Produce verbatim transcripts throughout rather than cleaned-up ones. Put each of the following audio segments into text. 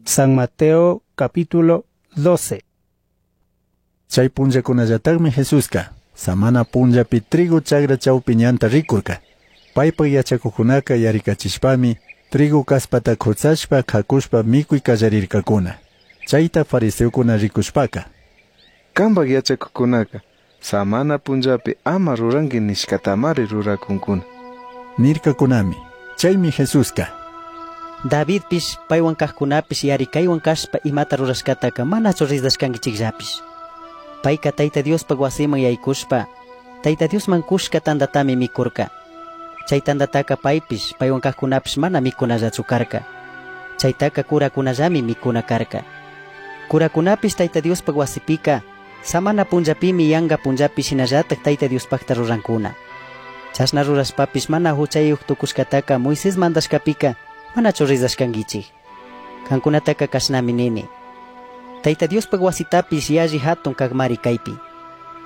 San Mateo capítulo doce. Chay punllakunallataqmi Jesusqa samana punllapi trigo chagra chawpi ñanta rikurka. Paypaq yachakuqkunaka yarikachishpami trigo kaspata khutsashpa khakushpa mikuy qallarirqakuna. Chayta fariseokuna rikushpaka: Kanpaq yachakuqkunaka samana punllapi ama ruranki nishkatamari rurakunkuna, nirkakunami. Chaymi Jesusqa: Davidpish paywan kaqkunapish yarikaywan kashpa imata rurashkataka manachu ridashkankichikllapish. Payka Tayta Diospaq wasiman yaykushpa Tayta Diosman kushka tantatami mikurka. Chay tantataka paypish paywan kaqkunapish mana mikunallachu karka. Chaytaka kurakunallami mikuna karka. Kurakunapish Tayta Diospaq wasipika samana punllapimi yanka punllapi shinallatak Tayta Diospaqta rurankuna. Chashna rurashpapish mana huchayuq tukushkataka Moisés mandashkapika manachu ridashkankichik. Kankunataka kashnami nini: Tayta Diospaq wasitapish yalli hatun kaqmari kaypi.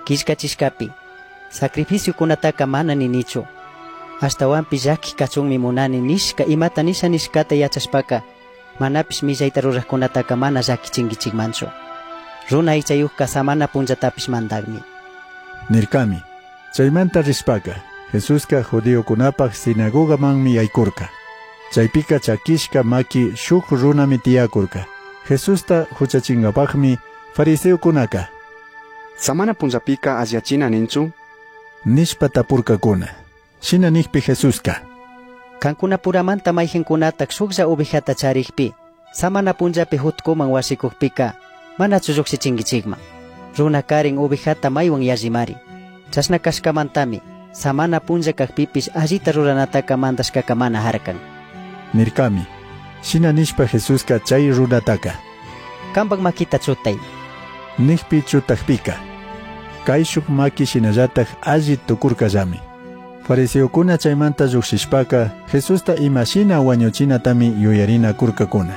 Killkachishkapi sacrificiokunataka mana ninichu. Ashtawanpish llaki kachunmi munani nishka imata nisha nishkata yachashpaka manapish millayta ruraqkunataka mana llakichinkichikmanchu. Runa aychayuqka samana punllatapish mandaqmi, nirkami. Chaymanta rishpaka Jesusqa judiokunapaq sinagogamanmi yaykurka. Chaypika chakishka maki shuk runami tiyakurka. Jesusta huchachingapaqmi fariseokunaka: Samana punllapika alliyachina ninchu, nishpa tapurkakuna. Shina nikpi Jesusqa: Kankunapuramanta mayqinkunataq shuklla ovejata charikpi samana punllapi hutkuman wasikukpika manachu lluqshichinkichikman. Runa karin ovejata maywan yallimari. Chashna kashkamantami samana punlla kaqpipish allita ruranataka mandashkaka mana harkan, nirkami. Shina nishpa Jesusqa chay runataka: Kanpak makita chutay, nikpi chutakpika kayshuk maki shinallatak alli tukurkallami. Fariseokuna chaymanta lluqshishpaka Jesusta imashina wañuchinatami yuyarinakurkakuna.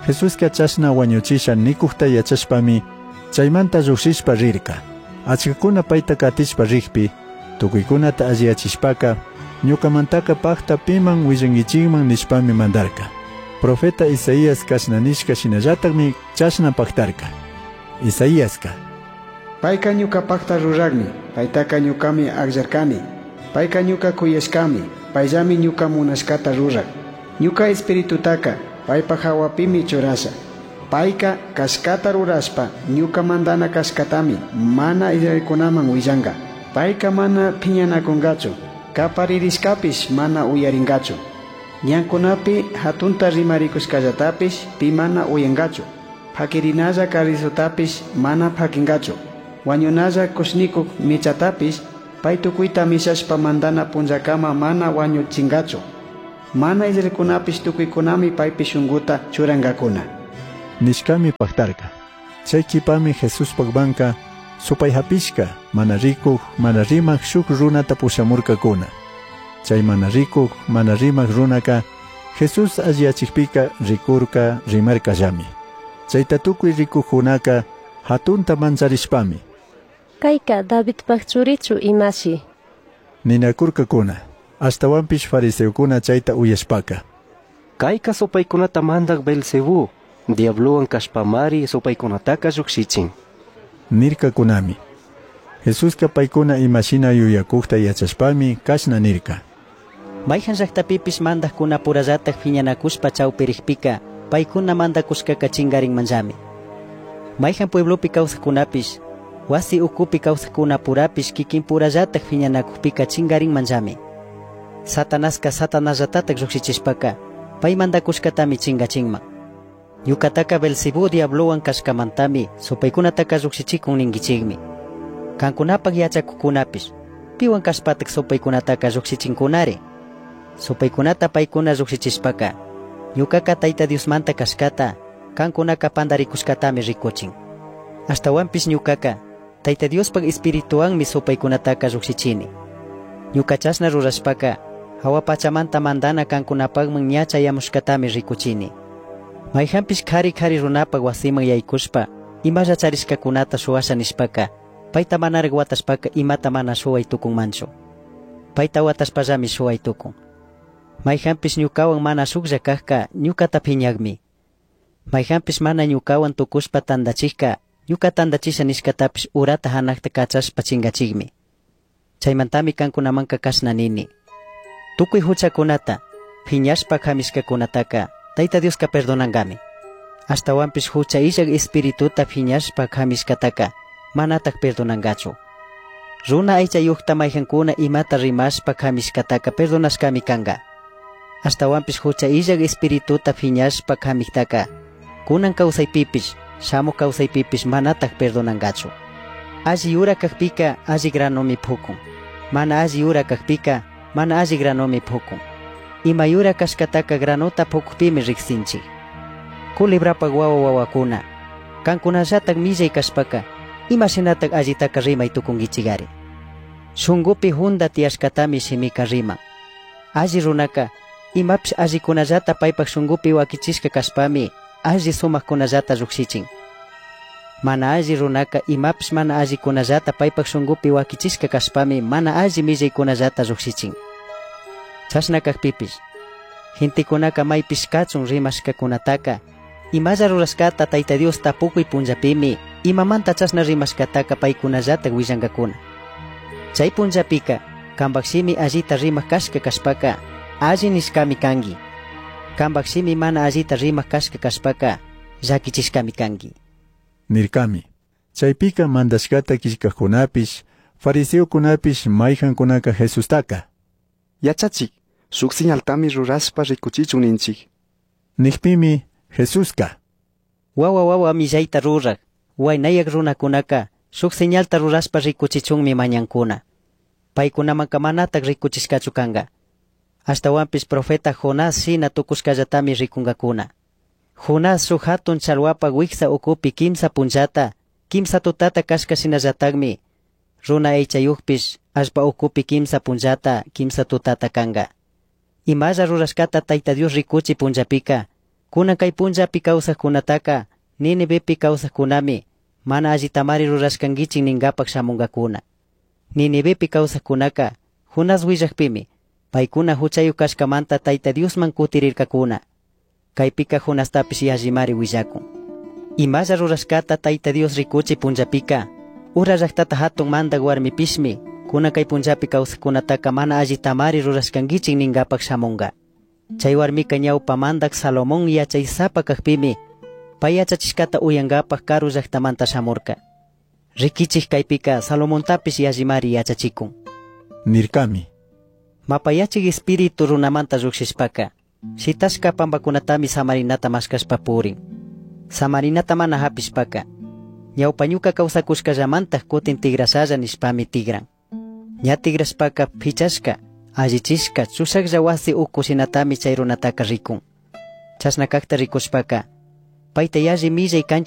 Jesusqa chashna wañuchisha nikuqta yachashpami chaymanta lluqshishpa rirka. Achkakuna payta katishpa rikpi tukuykunata alliyachishpaka ñukamantaka paqta piman willankichikman nishpami mandarka. Profeta Isaías kashna nishka shinallatakmi chashna paqtarka. Isaíaska: Payka ñuka paqta ruraqmi, paytaka ñukami akllarkani. Payka ñuka kuyashkami, payllami ñuka munashkata ruraq. Ñuka espiritutaka paypaq hawapimi churasha. Payka kashkata rurashpa ñuka mandana kashkatami mana israelkunaman willanka. Payka mana phiñanakunkachu, kaparirishkapish mana uyarinkachu. Ñankunapi hatunta rimarikushkallatapish pi mana uyankachu. Pakirinalla carrizutapish mana pakinkachu. Wañunalla kushnikuk michatapish pay tukuyta mishashpa mandana punllakama mana wañuchinkachu. Mana israelkunapish tukuykunami paypi shunkuta churankakuna, nishkami paqtarka. Chay qhipami Jesuspaq banka supay hapishka mana rikuq mana rimaq shuk runata pushamurkakuna. Chay mana rikuq mana rimaq runaka Jesús alliyachikpika rikurka rimarkallami. Chayta tukuy rikuqkunaka hatunta mancharishpami: Kayka Davidpaq churichu imashi, ninakurkakuna. Ashtawanpish fariseokuna chayta uyashpaka: Kayka supaykunata mandaq Beelzebú, diablowan kashpamari supaykunataka lluqshichin, nirkakunami. Jesusqa paykuna imashina yuyakuqta yachashpami kashna nirka: Mayqan llaqtapipish mandaqkunapurallatak phiñanakushpa chawpirikpika paykuna mandakushkaka chinkarinmanllami. Mayqan pueblopi kawsaqkunapish wasi ukupi kawsaqkunapurapish kikinpurallatak phiñanakukpika chinkarinmanllami. Satanaska Satanasllatatak lluqshichishpaka pay mandakushkatami chinkachinman. Ñukataka Beelzebú diablowan kashkamantami supaykunataka lluqshichikun ninkichikmi. Kankunapaq yachakuqkunapish piwan kashpatak supaykunataka lluqshichinkunari. Supaykunata paykuna lluqshichishpaka ñukaka Tayta Diosmanta kashkata kankunaka pandarikushkatami rikuchin. Ashtawanpish ñukaka Tayta Diospaq espirituwanmi supaykunataka lluqshichini. Ñuka chashna rurashpaka hawa pachamanta mandana kankunapaqman ña chayamushkatami rikuchini. Mayqanpish qhari qhari runapaq wasiman yaykushpa imalla charishkakunata shuwasha nishpaka payta manaraq watashpaka imata mana shuway tukunmanchu. Payta watashpallami shuway tukun. Mayqanpish ñukawan mana shuklla kaqka ñukata phiñaqmi. Maijanpish mana ñucahuan tucushpa tandachijca, ñuca tandachisha nishcatapish urata hanajta cachashpa chingachijmi. Chaimantami cancunamanca cashna nini. Tucui juchacunata, phiñashpa jamishcacunataca, Taita Diosca perdonangami. Ashtahuanpish jucha illaj espirituta phiñashpa jamishcataca, manataj perdonangachu. Runa aychayujta maijancuna imata rimashpa jamishcataca perdonashcami canga. Ashtahuanpish jucha illaj espirituta phiñashpa jamijtaca, kunan kawsaypipish, shamuj kawsaypipish manataj perdonangachu. Alli yura kajpika alli granomi pukun. Mana alli yura kajpika mana alli granomi pukun. Ima yura kashkataka granota pukupimi riksinchik. Culebrapaj wawa wawakuna, kankunallatak millay kashpaka, imashinatak allitaka rimay tukunkichikari. Shunkupi junda tiyashkatami shimika riman. Alli runaka, imapish allikunallata paypak shunkupi wakichishka kashpami, alli sumakkunallata llukshichin. Mana alli runaka imapish mana allikunallata paypak shunkupi wakichishka kashpami mana alli millaykunallata llukshichin. Chashna kajpipish, gentekunaka maypish kachun rimashkakunataka, imalla rurashkata Tayta Dios tapukuy punllapimi, imamanta chashna rimashkataka paykunallatak willankakuna. Chay punllapika, kampak shimi allita rimak kashka kashpaka, alli nishkami kanki. Kampak shimi mana allita rimak kashka kashpaka, llakichishkami kanki. Nirkami. Chaypika mandashkata killkajkunapish, fariseokunapish mayjankunaka Jesustaka. Yachachik, shuk señaltami rurashpa rikuchichun ninchik. Nijpimi Jesuska. Wawa wawa millayta ruraj, waynayak runakunaka, shuk señalta rurashpa rikuchichunmi mañankuna. Paykunamanka manatak rikuchishkachu kanka. Ashtawanpish profeta Jonás shina tukushkallatami rikunkakuna. Jonás shuk hatun chalwapa wiksa ukupi kimsa punllata, kimsa tutata kashka shinallatakmi, runa aychayukpish allpa ukupi kimsa punllata, kimsa tutata kanka. Imalla rurashkata Tayta Dios rikuchi punllapika, kunan kay punllapi kawsajkunataka, Ninivepi kawsajkunami, mana allitamari rurashkankichik ninkapak shamunkakuna. Ninivepi kawsajkunaka, Jonás willakpimi, paykuna huchayuk kashkamanta Tayta Diosman kutirirkakuna. Kaypika Jonastapish yallimari willakun. Imalla rurashkata Tayta Dios rikuchi punllapika, ura llaktata hatun mandak warmipishmi, kunan kay punllapi kawsajkunataka mana allitamari rurashkankichik ninkapak shamunka. Chay warmika ñawpa mandak Salomón yachaysapa kajpimi, pay yachachishkata uyankapak karu llaktamanta shamurka. Rikichik kaypika Salomontapish yallimari yachachikun. Nirkami. Mapayachik espíritu runamanta llukshishpaka, shitashka pampakunatami samarinata mashkashpa purin. Samarinata mana hapishpaka, ñawpa ñuka kawsakushkallamantaj kutin tigrashalla nishpami tigran. Ña tigrashpaka pichashka, allichishka, chushaklla wasi uku shinatami chay runataka rikun. Chashna kakta rikushpaka, payta yalli millay kanchis